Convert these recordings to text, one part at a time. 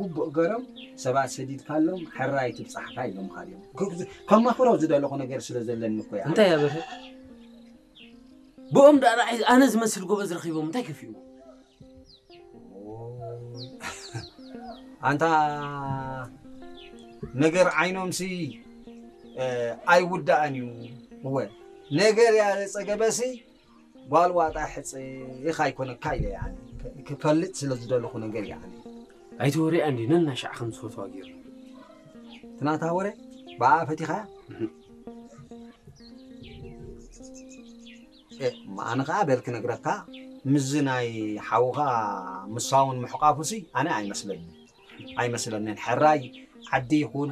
ግቡእ ገሮም ሰባት ሰዲድካሎም ሕራይ ትብጻሕካ ኢሎምካ ድዮም? ከማኽሮ ዝደለኹ ነገር ስለ ዘለኒ እኮ እያ። እንታይ እያ በርሀ? ብኦም ደኣ ረኣይ ኣነ ዝመስል ጎበዝ ረኺቦም እንታይ ከፊኡ? ኣንታ ነገር ዓይኖምሲ ኣይውዳእን እዩ። እወ ነገር ያለ ጸገበሲ ጓል ዋጣ ሕጽ ኢኻ ኣይኮነካ ኢለ ያኒ ክፈልጥ ስለ ዝደለኹ ነገር ያኒ ኣይትወርያ እንዲ ነናሻዕ ከም ዝፈትዋ ገይሩ ትናታ ወረ ብኣ ፈቲኻያ ኣነ ከዓ በል ክነግረካ ምስዚ ናይ ሓውኻ ምሳውን ምሕቋፉሲ ኣነ ኣይመስለኒ ኣይመስለንን ሕራይ ዓዲ ይኹን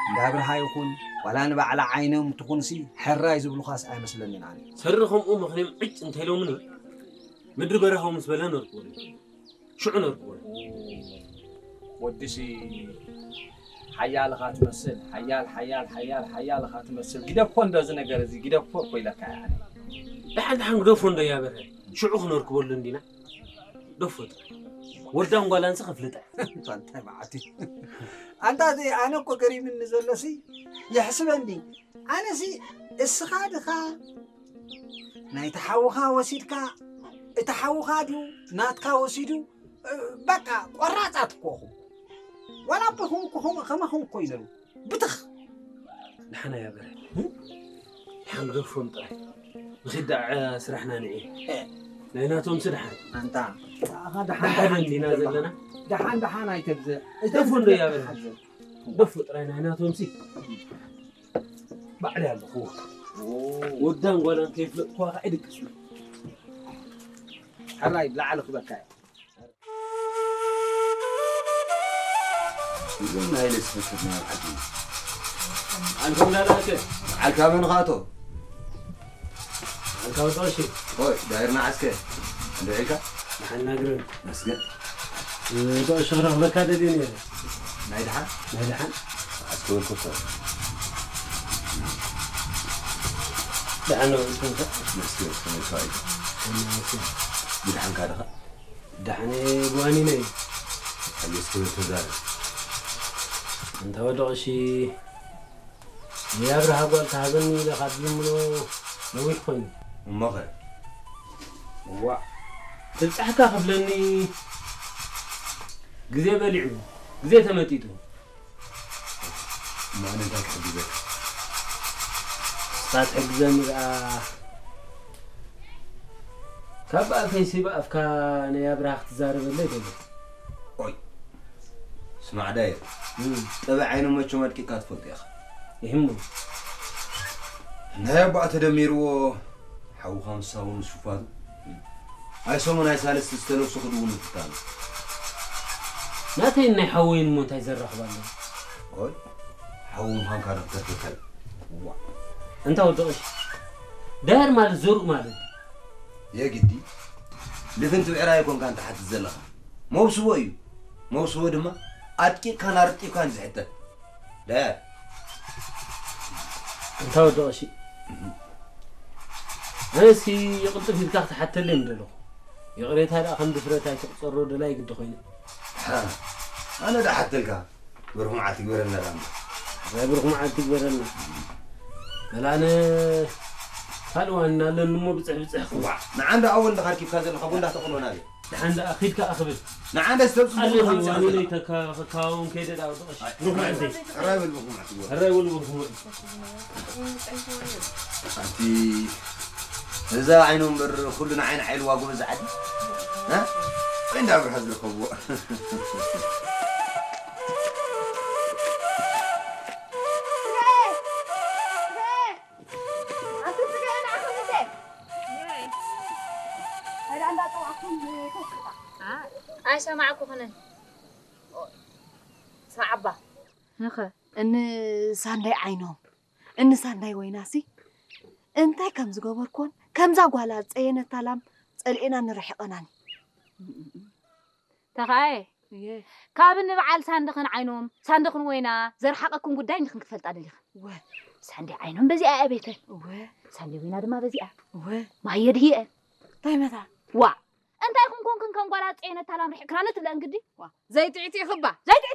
እንዳብርሃ ይኹን ዋላ ንባዕላ ዓይኖም ትኹንሲ ሕራይ ዝብሉኻስ ኣይመስለንን ኣነ ሰሪ ከምኡ ምኽንዮም ዕጭ እንተኢሎምኒ ምድሪ በረሃው ምስ በለ ነርኩ ሽዑ ነርኩ ወድሲ ሓያልኻ ትመስል ሓያል ሓያል ሓያል ሓያልኻ ትመስል ግደፎ እንዶ እዚ ነገር እዚ ግደፎ እኮ ኢለካ ያኒ ደሓን ደሓን ግደፎ እንዶ ያበረ ሽዑ ክነርክበሉ እንዲና ደፎ ጥራይ ወዳን ጓላንስ ከፍልጠ እንታይ መዓት ኣንታ ኣነ እኮ ገሪምኒ ዘሎሲ ይሕስበኒ ኣነሲ እስኻ ድኻ ናይቲ ሓውኻ ወሲድካ እቲ ሓውኻ ድዩ ናትካ ወሲዱ በቃ ቆራፃት እኮኹ ዋላ ኣቦኹም እኮኹም ከማኹም እኮ ይነሩ ብትኽ ንሓና ያበረ ሓንገፎም ጥራይ ንኺዳዕ ስራሕና ንዒ ናይ ናቶም ስድሓን ኣንታ ደሓን እንዲና ዘለና ደሓን ደሓን ኣይተብዝሕ እተፉ እንዶ ያበረ ደፉ ጥራይ ናይ ናቶም ሲ ባዕለይ ኣለኹ። ወዳን ጓላን ከይፍለጥኩዋ ከዓ ይድቅስ። ሕራይ ብላዕሊ ክበካ እየ። እዞም ናይ ለስፈከት ናይ ዓዲ ዓልኩም እንዳዳእከ ዓልካ መን ኻቶ ዓልካ ወጣ እሺ ሆይ ዳይርና ዓስከ እንደ ዒልካ ንሓናግረን መስገን ዶ ሽኽረኽ በካ ደልየ ነይረ ናይ ደሓን ናይ ደሓን ኣስተወልኩ ሰብ ደሓን ነው እንትን መስገን ከመይ ሰዋይ ብድሓንካ ድኻ ደሓን ብዋኒነ እዩ ኣየስ ክብል ተዛረብ እንተ ወደቕ እሺ የኣብርሃ ጓል ተሃበኒ ኢለ ካብ ዝምሎ ነዊሕ ኮይኑ እሞኸ ዋዕ ትብጻሕካ ክብለኒ ግዜ በሊዑ ግዜ ተመጢጡ እሞ ኣነ እንታይ ክሕግዘካ ንስኻ ትሕግዘኒ ደኣ ካብ ኣፈይሲ ብኣፍካ ናይ ኣብርሃ ክትዛረበለይ ደሊ ኦይ ስማዕ ዳየ ጠበ ዓይኑ መቸም ኣድቂካ ትፈልጦ ኢኻ ይህሞ ናይ ኣቦኣ ተደሚርዎ ሓውኻ ምሳውን ሱፋቱ ኣይ ሰሙን ኣይ ሳልስቲ ዝተለብሱ ክድውን ምፍታኑ ናተይን ናይ ሓወይን እሞ እንታይ ዘራኽብ ኣለዎ ሓዊ ምዃንካ ዶ ክተርፍከል እንታ ወዲ ቀሺ ዳያር ማለት ዘርኡ ማለት የግዲ ልፍንቲ ብዕራይ ኮንካ እንተ ሓትት ዘለኻ መውስቦ እዩ መውስቦ ድማ ኣጥቂቕካን ኣርጢብካን ዝሕተት ዳያር እንታ ወዲ ቀሺ ኣነሲ ይቕልጥፍ ኢልካ ክትሓተለይ ምደለኹ ይቕሬታ ደኣ ከም ድፍረት ኣይትቕጸሮ ደላይ ግዲ ኮይኑ ኣነ ደሓተልካ ብሩኽ መዓልቲ ግበረልና ዳሞ ኣይ ብሩኽ መዓልቲ ግበረልና በላነ ካልእ ዋና ኣለኒ እሞ ብፅሕ ብፅሕ ክዋዕ ንዓንዳ ኣወል እንዳኻ ርኪብካ ዘለኻ ቡንዳ ተቕሎ ናበይ ደሓን ደኣ ኺድ ከኣ ክብል ንዓንዳ ዝተብፅሑ ኣለኒ ዋኒነይ ተካውን ከይደ ዳ ብሩኽ መዓልቲ ሕራይ በል ብሩኽ መዓልቲ ግበረ ሕራይ በል ብሩኽ መዓልቲ ኣቲ እዛ ዓይኑ እምበር ኩሉ ንዓይ ንዓይ ኢልዋ ጎበዝ ዓዲ እ ወይ እንዳ ብርሃ ዝርከብዎ ኣይሰማዕኩኽንን ስማዕ ኣባ ንኸ እኒ ሳንዳይ ዓይኖም እኒ ሳንዳይ ወይናሲ እንታይ ከም ዝገበርኩዎን ከምዛ ጓላ ዝፀየነታ ላም ፀልኤናን ርሒቐናን እዩ ተኸኣየ ካብ ንበዓል ሳንድኽን ዓይኖም ሳንድኽን ወይና ዘርሓቐኩም ጉዳይ ንኽን ክፈልጣ ደሊኽን ወ ሳንዲ ዓይኖም በዚኣ እያ ቤተን ወ ሳንዲ ወይና ድማ በዚኣ ወ ማየ ድህየን እንታይ መታ ዋዕ እንታይ ኹን ኮንክን ከም ጓል ኣፀየነት ታላም ርሕቅክናለ ትብለን ግዲ። ዘይጥዕቲ ይኽባ። ዘይጥዕቲ